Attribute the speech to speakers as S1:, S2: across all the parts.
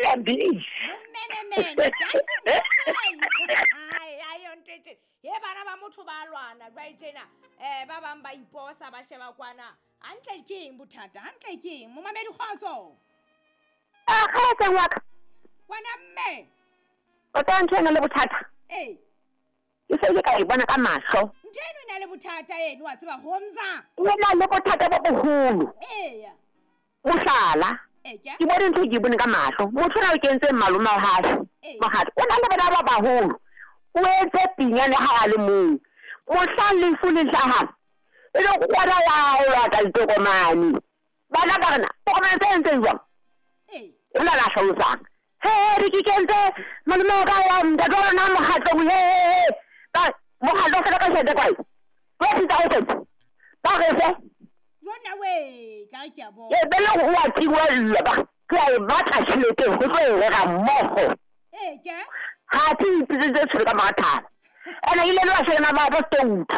S1: Leyamphidisa.
S2: Momenemene. Ai, ai, yo ntho e tjena. Ye bana ba motho ba lwana jwale tjena. Ba bang ba iposa ba sheba kwana. Hantle ke eng bothata? Hantle ke eng? Momamedi kgotso.
S1: A kgotso wa ka.
S2: Wena mme.
S1: O tla ntho ena le bothata.
S2: Ee.
S1: Ke se ile ka e bona ka mahlo.
S2: Ntho eno e na le bothata eno wa tseba Homza.
S1: E na le bothata bo boholo.
S2: Eya.
S1: Mohlala.
S2: Eya.
S1: Ke bone ntho e ke e bone ka mahlo. Motho ona o kentse malome wa hae. Mohatla. O na le bana ba baholo. O entse pinyane ha a le mong. Mohlang lefu le hlahang, e le kgona wa o lata ditokomane. Bana ba rena, tokomane tse entseng jwang?
S2: Ee.
S1: E la la hlalosang. He he re ke kentse malome wa ka wa ntate wa rona mokgatlong he he he. Ba mokgatlo o fela ka tjhelete kae? 20,000. Ba re fe.
S2: Yona we, ka re ke a bona.
S1: E be le o a tingwella ba ke a e batla tjhelete ho tlo e reka mmoho.
S2: Ee ke.
S1: Ha ke ipitsitse tshwele ka mora thaba. Ene ile le bashanyana ba bo stoutu.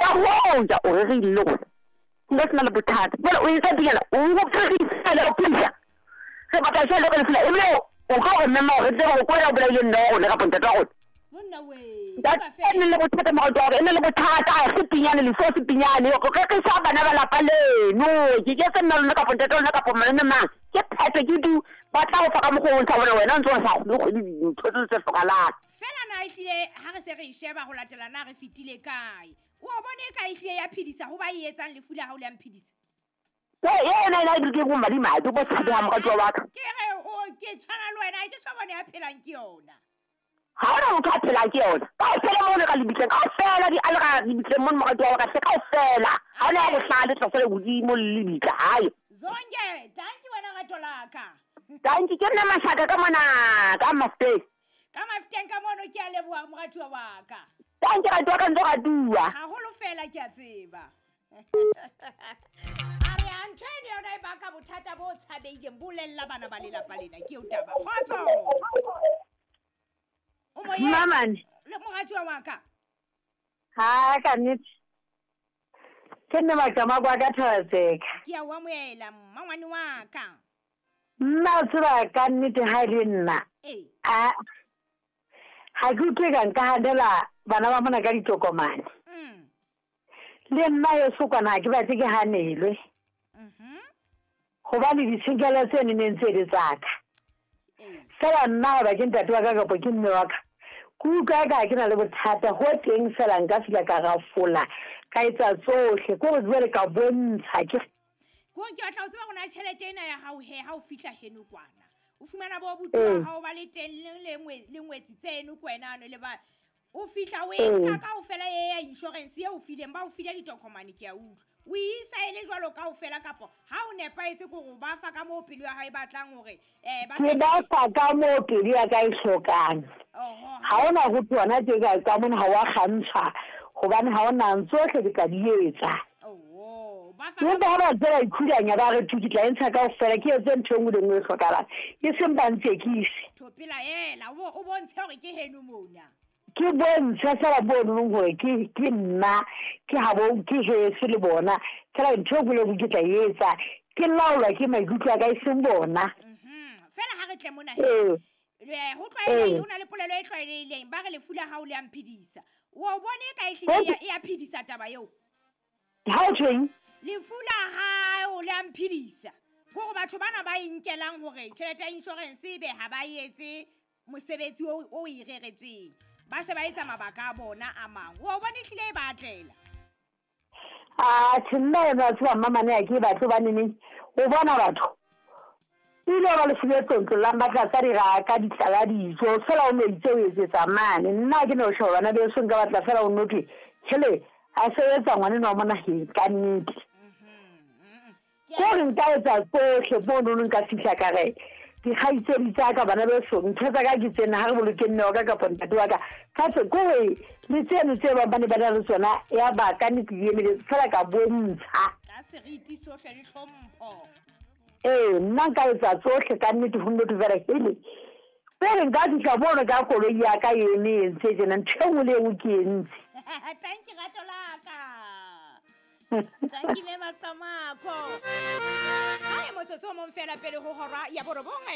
S1: Ba hoja o rerile le rona. Nka sena le bothata. Jwale o etsa pinyana o o phedisa o phedisa. Re batla tjhelete ka lefu la ebile o tlo re mema hore re tsebe hore ke wena o bolaileng mme wa rona kapa ntate wa rona.
S2: Monna we,
S1: Ntate
S2: utlwa
S1: e ne
S2: feela.
S1: le bothata moratuwa wa ka, e ne le bothata se pinyane lefu se pinyane. Re rekisa bana ba lapa leno. Ke ke se nna lona kapa ntate wa lona kapa malome mang. Ke phetho ke du ba tla o fa ka mokgwa o ntsha bona wena o ntse o sa kgone kgwedi dintho tseo tse hlokahalang.
S2: Fela na ehlile ha re se re e sheba ho latela na re fetile kae. O a bona eka ehlile ya phedisa ho ba e etsang lefu la hao le a mphedisa.
S1: Ena ena e ke bo madimabe bo tshabehang moratuwa wa ka.
S2: Ke re o ke tshwana le wena ha ke so bone ya phelang ke yona.
S1: Ha hona motho a phelang ke yona. Kaofela mono ka lebitleng, kaofela di alga lebitleng mono moratuwa wa ka hle kaofela. Ha hona ya bohlale tla sala hodimo le lebitla hae.
S2: Zonke, dankie wena rato la ka.
S1: Dankie ke nna Mashaka ka mona ka Mafteng.
S2: Ka Mafteng ka mono ke a leboha moratuwa wa ka.
S1: Dankie ratuwa ka ntse ratuwa.
S2: Haholo fela ke a tseba. A re a ntho eno yona e baka bothata bo tshabeileng bolella bana ba lelapa lena ke eo taba. Kgotso. O moyeng.
S3: Mmamane.
S2: Le moratuwa wa ka.
S3: Ha ka nnete. Ke nna Maqama kwa ka Thabaseka.
S2: Ke a o amohela mmangwane wa ka.
S3: Nna o tseba ka nnete ha e le nna.
S2: Ee.
S3: A ha ke utlwe ka nka hanela bana ba mona ka ditokomane. Le nna heso kwana ha ke batle ke hanelwe. Hobane ditshenyehelo tseno ne ntse e le tsa ka. Fela nna hoba ke ntate wa ka kapa ke mme wa ka. Ke utlwa eka ha ke na le bothata ho teng fela nka fihla ka rafola ka etsa tsohle ke hore jwale ka bontsha ke
S2: Ko ke batla ho tseba hore na tjhelete ena ya hao he ha o fihla heno kwana. O fumana bo abuti wa hao ba le teng le le ngwetsi tseno ke wena ano le ba o fihla o e nka kaofela e ya insurance e o fileng ba o file ditokomane ke a utlwa. O e isa e le jwalo kaofela kapa ha o nepahetse ke hore o ba fa ka moo pelo ya hae e batlang hore ba
S3: Ke ba fa ka moo pelo ya ka e hlokang.
S2: Oho.
S3: Ha hona ho thwe hona tje ka mona ha wa kgantshwa hobane ha hona tsohle ke tla di etsa.
S2: Oho, ba fa
S3: Empa ha ba ntse ba ikhulanya ba re thu ke tla e ntsha kaofela ke etse ntho e nngwe le nngwe e hlokahalang. E seng ba ntsekise.
S2: Thopela ela o bontshe hore ke heno mona.
S3: Ke bontshe fela mono hore ke nna ke habo ke heso le bona. Fela ntho e nngwe le nngwe ke tla e etsa. Ke laolwa ke maikutlo a ka e seng bona.
S2: Fela ha re tle mona he. Ho tlwaelehile ho na le polelo e tlwaelehileng ba re lefu la hao le a mphedisa. O bone e ka ehlile e a phedisa taba eo.
S3: Ha o tjheng?
S2: Lefu la hao le a mphedisa. Hore batho bana ba e nkelang hore tjhelete ya insurance ebe ha ba etse mosebetsi o e reretsweng. Ba se ba etsa mabaka a bona a mang. O bone ehlile e ba atlela.
S3: Ah, tjhe nna yona wa tseba mmamane ha ke e batle hobane neng o bona batho. Ile ba lefu le tlontlollang ba tlatsa diraka, di tlala dijo, fela o no itse o etsetsa mane. Nna ha ke no sheba bana beso nka batla fela o no thwe, hele, a sebetsa ngwanenwa wa mona he, ka nnete. Ke hore nka etsa tsohle monono nka fihla ka re dikgaitsedi tsa ka bana beso ntho tsa ka ke tsena ha re boloke mme wa ka kapa ntate wa ka. Ka tse ke hore le tseno tse bang ba ne ba na le tsona ya ba ka nnete di emeletse fela ka bontsha.
S2: Ka seriti sohle le hlompho.
S3: Ee, nna nka etsa tsohle ka nnete ho nnete fela hele. Pele nka fihla mono ka koloi ya ka e eme e entse tjena ntho e nngwe le e nngwe ke entse.
S2: Tanki rato la ka. Tanki mme Maqamako. Hae motsotso o mong fela pele ho hora ya borobong.